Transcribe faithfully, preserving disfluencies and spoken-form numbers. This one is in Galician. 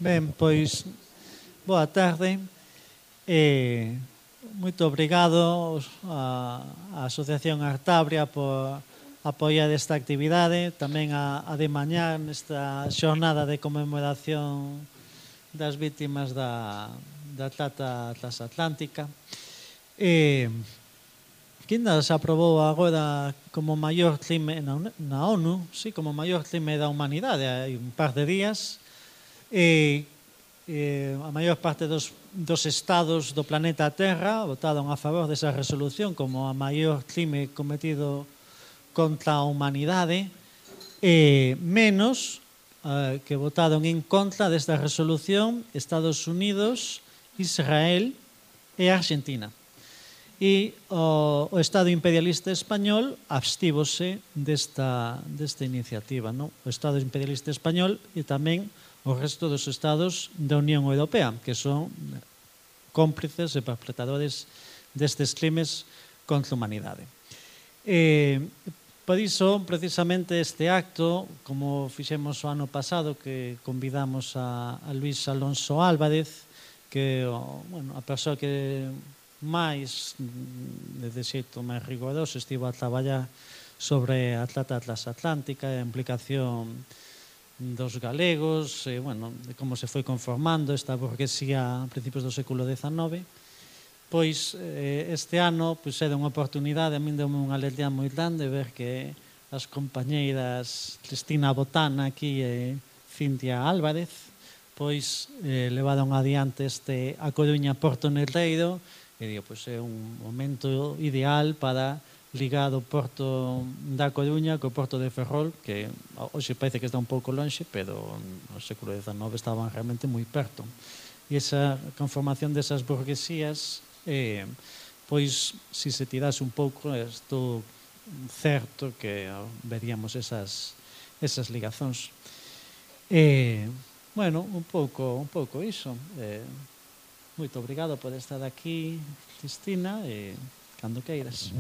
Ben, pois, boa tarde. E moito obrigado á Asociación Artabria por apoiar esta actividade, tamén a, a de mañá nesta xornada de conmemoración das vítimas da, da trata transatlántica. E que ainda se aprobou agora como maior crime na, na ONU, sí, como maior crime da humanidade, hai un par de días. E, e a maior parte dos, dos estados do planeta Terra votaron a favor desa resolución como a maior crime cometido contra a humanidade, e menos eh, que votaron en contra desta resolución Estados Unidos, Israel e Argentina. E o, o Estado imperialista español abstívose desta, desta iniciativa, non? O Estado imperialista español e tamén o resto dos estados da Unión Europea, que son cómplices e perpetradores destes crimes contra a humanidade. E, por iso, precisamente, este acto, como fixemos o ano pasado, que convidamos a, a Luis Alonso Álvarez, que bueno, a persoa que máis, de xeito máis rigoroso, estivo a traballar sobre a trata transatlántica e a implicación dos galegos, e, bueno, de como se foi conformando esta burguesía a principios do século dezanove, pois eh, este ano pois, era unha oportunidade, a min deu unha alegría moi grande ver que as compañeiras Cristina Botana aquí e Cintia Álvarez pois eh, levaron adiante este A Coruña Porto Negreiro, e digo, pois é un momento ideal para ligar o porto da Coruña co porto de Ferrol, que hoxe parece que está un pouco lonxe, pero no século dezanove estaban realmente moi perto. E esa conformación desas burguesías, eh, pois, se se tirase un pouco, estou certo que veríamos esas, esas ligazóns. E, bueno, un pouco, un pouco iso. Eh, moito obrigado por estar aquí, Cristina, e cando queiras.